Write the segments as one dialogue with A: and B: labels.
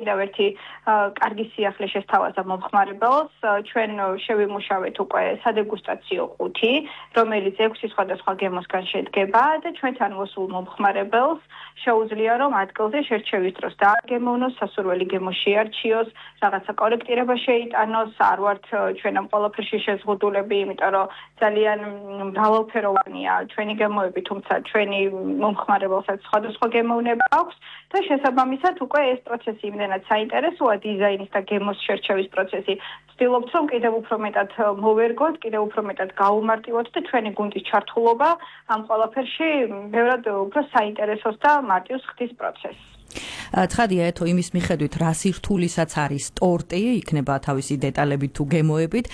A: კიდევ ერთი კარგი სიახლე შესთავაზა მომხმარებელს. ჩვენ შევიმუშავეთ უკვე სადეგუსტაციო ყუთი, რომელიც 6 სხვადასხვა გემოსგან შედგება და ჩვენთან მოსულ მომხმარებელს შეუძლია რომ ადგილზე შერჩევის დროს დააგემოვნოს, სასურველი გემო შეარჩიოს, რაღაცა კორექტირება შეიტანოს, არ ვართ ჩვენ ამ ყველაფერში შეზღუდულები, იმიტომ რომ ძალიან მრავალფეროვანია ჩვენი გემოები, თუმცა ჩვენი მომხმარებელსაც სხვადასხვა გემოვნება აქვს და შესაბამისად უკვე ეს პროცესი იმდენად საინტერესოა დიზაინის და გემოს შერჩევის პროცესი. ვცდილობთ რომ კიდევ უფრო მეტად მოვერგოთ, კიდევ უფრო მეტად გაუმარტივოთ და ჩვენი გუნდის ჩართულობა ამ ყველაფერში ბევრად უფრო საინტერესოს და მარტივს ხდის პროცესს.
B: ცხადია ეთო იმის მიხედვით რა სირთულისაც არის ტორტი, იქნება თავისი დეტალებით თუ გემოებით,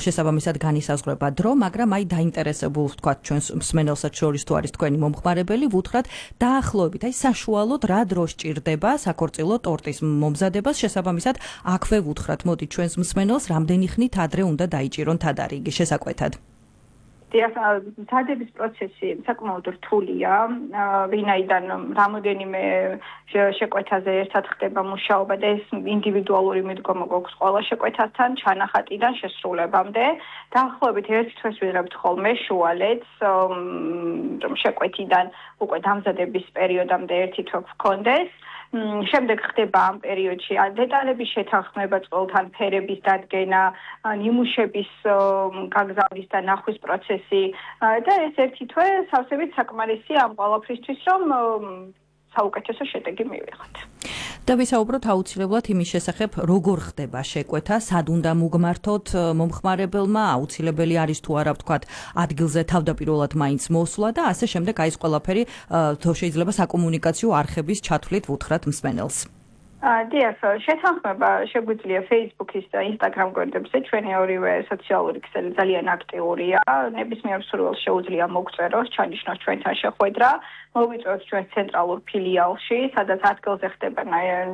B: შესაბამისად განისაზღვრება დრო, მაგრამ აი დაინტერესებულ ვთქვათ ჩვენს მსმენელსაც შორის თუ არის თქვენი მომხმარებელი, ვუთხრათ დაახლოებით, აი საშუალოდ რა დრო სჭირდება საქორწილო ტორტის მომზადებას, შესაბამისად აქვე ვუთხრათ, მოდი ჩვენს მსმენელს რამდენი ხნით ადრე უნდა დაიჭირონ თადარიგი შესაკვეთად.
A: მზადების პროცესი საკმაოდ რთულია, ვინაიდან რამოდენიმე შეკვეთაზე ერთად ხდება მუშაობა და ეს ინდივიდუალური მიდგომა გვაქვს ყველა შეკვეთასთან, ჩანახატიდან შესრულებამდე. დაახლოებით 1 თვეს ვიღებთ ხოლმე შუალედს, რომ შეკვეთიდან უკვე დამზადების პერიოდამდე 1 თვე გქონდეს. შემდეგ ხდება ამ პერიოდში დეტალების შეთანხმება, წყვილთან ფერების დადგენა, ნიმუშების გაგზავნის და ნახვის პროცესი და ეს 1 თვე სავსებით საკმარისია ამ ყველაფრისთვის, რომ საუკეთესო შედეგი მივიღოთ.
B: და ვისაუბროთ აუცილებლად იმის შესახებ, როგორ ხდება შეკვეთა, სად უნდა მოგმართოთ მომხმარებელმა, აუცილებელი არის თუ არა ვთქვათ, ადგილზე თავდაპირველად მაინც მოსვლა და ასე შემდეგ, აი ეს ყველაფერი შეიძლება საკომუნიკაციო არხების ჩათვლით ვუთხრათ მსმენელს.
A: დიახ, შეთანხმება შეგვიძლია Facebook-ის და Instagram გვერდებზე, ჩვენი ორივე სოციალური ქსელი ძალიან აქტიურია, ნებისმიერ მსურველს შეუძლია მოგწეროს, ჩანიშნოს ჩვენთან შეხვედრა, მოვიწვევთ ჩვენს ცენტრალურ ფილიალში, სადაც ადგილზე ხდება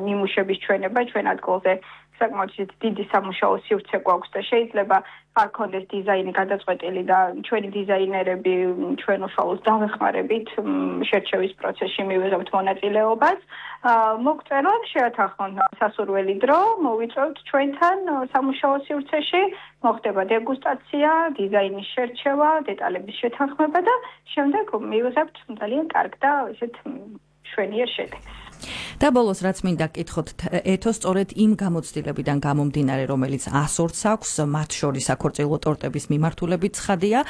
A: ნიმუშების ჩვენება, ჩვენ ადგილზე საკმაოდ დიდი სამუშაო სივრცე გვაქვს და შეიძლება არ ქონდეს დიზაინი გადაწყვეტილი და ჩვენი დიზაინერები ჩვენ უშუალოდ დავეხმარებით შერჩევის პროცესში მივიღებთ მონაწილეობას. მოგწერონ, შევათანხმოთ სასურველი დრო, მოვიწვევთ ჩვენთან სამუშაო სივრცეში, მოხდება დეგუსტაცია, დიზაინის შერჩევა, დეტალების შეთანხმება და შემდეგ მივიღებთ ძალიან კარგ და ესეთ მშვენიერ შედეგს.
B: და ბოლოს რაც მინდა გკითხოთ, ეთო სწორედ იმ გამოცდილებიდან გამომდინარე, რომელიც ასორც აქვს, მათ შორის საქორწილო ტორტების მიმართულებით ცხადია,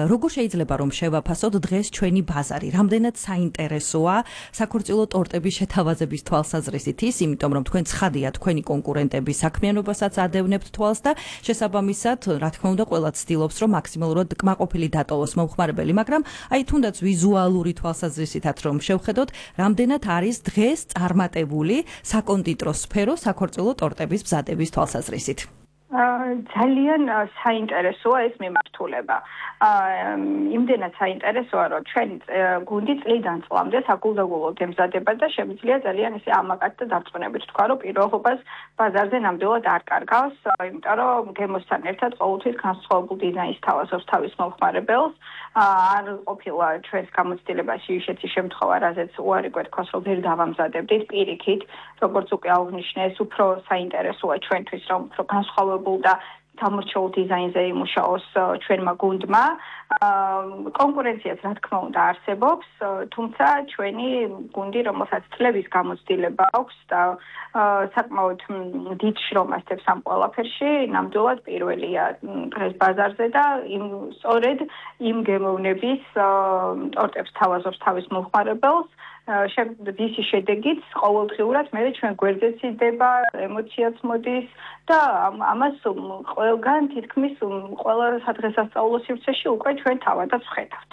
B: როგორ შეიძლება რომ შევაფასოთ დღეს ჩვენი ბაზარი, რამდენად საინტერესოა საქორწილო ტორტების შეთავაზების თვალსაზრისით ის, იმიტომ რომ თქვენ ცხადია თქვენი კონკურენტების საქმიანობასაც ადევნებთ თვალს და შესაბამისად, რა თქმა უნდა, ყველა ცდილობს რომ მაქსიმალურად კმაყოფილი დატოვოს მომხმარებელი, მაგრამ აი თუნდაც ვიზუალური თვალსაზრისითაც რომ შევხედოთ, რამდენად არის დღეს წარმატებული საკონდიტრო სფერო საქორწილო ტორტების მზადების თვალსაზრისით.
A: ძალიან საინტერესოა ეს მიმართულება. იმდენად საინტერესოა, რომ ჩვენი გუნდი წლიდან წლამდე საგულდაგულოდ ემზადება და შემიძლია ძალიან ისე ამაკად და დარწმუნებით თქვა, რომ პირողობას ბაზარზე ნამდვილად არ კარგავს, იმიტომ რომ გემოსთან ერთად ყოველთვის განსხვავებულ დიზაინს თავაზობს თავის მომხმარებელს. არ ყოფილა ჩვენს გამოცდილებაში ისეთი შემთხვევა, რაზეც უარი გვეთქვას, რომ ვერ დავამზადებდით პირიქით, როგორც უკვე აღნიშნე, ეს უფრო საინტერესოა ჩვენთვის, რომ უფრო განსხვავებულ და სამორჩეულ დიზაინზე იმუშაოს ჩვენმა გუნდმა. კონკურენციაც რა თქმა უნდა არსებობს, თუმცა ჩვენი გუნდი, რომელსაც წლების გამოცდილება აქვს და საკმაოდ დიდ შრომას დებს ამ ყველაფერში, ნამდვილად პირველია დღეს ბაზარზე და სწორედ იმ გემოვნების ტორტებს თავაზობს თავის მომხმარებელს. ვისი შედეგიც ყოველდღიურად მე ჩვენ გვერდზეც იდება, ემოციაც მოდის და ამას ყველგან თითქმის ყველა სადღესასწაულო სივრცეში უკვე ჩვენ თავადაც ვხედავთ.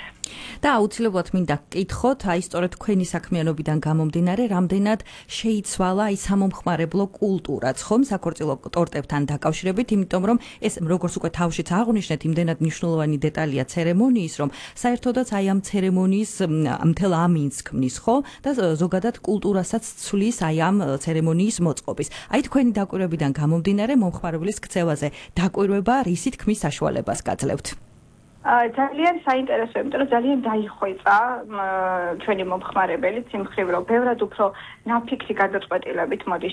B: და აუცილებლად მინდა გკითხოთ, აი სწორედ თქვენი საქმიანობიდან გამომდინარე, რამდენად შეიცვალა აი სამომხმარებლო კულტურაც, ხომ, საქორწილო ტორტებთან დაკავშირებით, იმიტომ რომ ეს როგორც უკვე თავშიც აღნიშნეთ, იმდენად მნიშვნელოვანი დეტალია ცერემონიის, რომ საერთოდაც აი ამ ცერემონიის მთელ ამინს ქმნის, ხო? და ზოგადად კულტურასაც ცვლის აი ამ ცერემონიის მოწყობის. აი თქვენი დაკვირვებიდან გამომდინარე, მომხმარებლის ქცევაზე დაკვირვება რისი თქმის საშუალებას გაძლევთ?
A: ძალიან საინტერესოა, იმიტომ რომ ძალიან დაიხვეწა ჩვენი მომხმარებელიც იმ მხრივ, რომ ბევრად უფრო ნაფიქსი გადაწყვეტილებით მოდის